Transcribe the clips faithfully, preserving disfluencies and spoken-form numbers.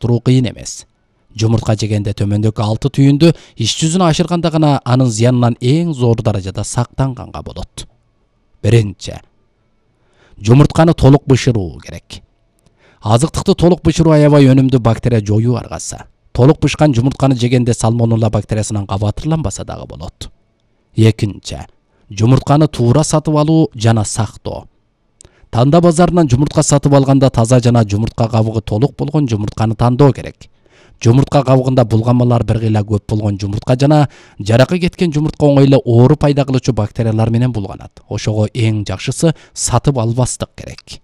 салыштыруу кыйын эмес. Жумуртка жегенде төмөндөгү алты түйүндү иш жүзүнө ашырганда гана анын зыянынан эң зор даражада сактанганга болот. Биринчи, жумуртканы толук бышыруу керек. Азыктыкты толук бышыруу аябай өнүмдүү бактерия жоюу аргасы. Толук бышкан жумуртканы жегенде сальмонелла бактериясынан кабатырланбаса дагы болот. Экинчи, жумуртканы туура сатып алуу жана сактоо. Танда базарынан жумуртка сатып алганда таза жана жумуртка кабыгы толук болгон жумуртканы тандоо керек. Жумуртка кабыгында булганмалар бир кыйла көп болгон жумуртка жана жаракка кеткен жумуртка оңой эле оору пайда кылуучу бактериялар менен булганат. Ошого эң жакшысы сатып албастык керек.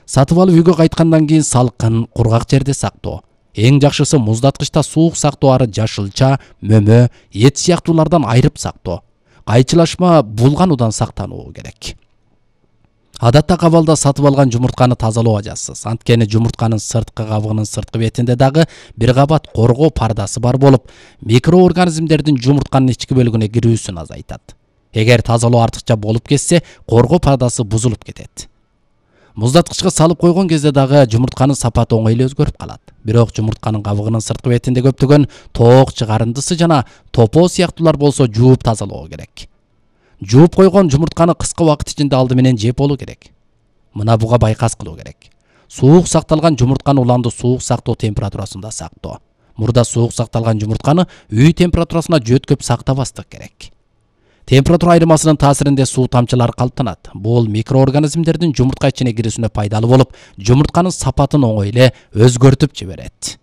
Сатып алып үйгө кайткандан кийин салкын, кургак жерде сактоо. Эң жакшысы муздаткычта суук сактоо ары жашылча, мөмө, эт сыяктуулардан айырып сактоо. Кайчылашма, булгануудан сактануу керек. Адатта кабалда сатып алган жумуртканы тазалоо ажасыз. Анткени жумуртканын сырткы кабыгынын сырткы бетинде дагы бир кабат коргоо пардасы бар болуп, микроорганизмдердин жумуртканын ички бөлүгүнө кирүүсүн азайтат. Эгер тазалоо артыкча болуп кетсе, коргоо пардасы бузулуп кетет. Муздаткычка салып койгон кезде дагы жумуртканын сапаты оңой эле өзгөрүп калат. Бирок жумуртканын кабыгынын сырткы бетинде көптөгөн тоок чыгарындысы жана топоо сыяктуулар болсо жууп тазалоо керек. Жууп койгон жумуртканы кыска убакыт ичинде алды менен жеп болуу керек. Мына буга байкас кылуу керек. Суук сакталган жумуртканы уланды суук сактоо температурасында сактоо. Мурда суук сакталган жумуртканы үй температурасына жөткөп сактабастык керек. Температура айырмасынын таасиринде суу тамчылары калыптанат. Бул микроорганизмдердин жумуртка ичине кирүүсүнө пайдалуу болуп, жумуртканын сапатын оңой эле өзгөртүп жиберет.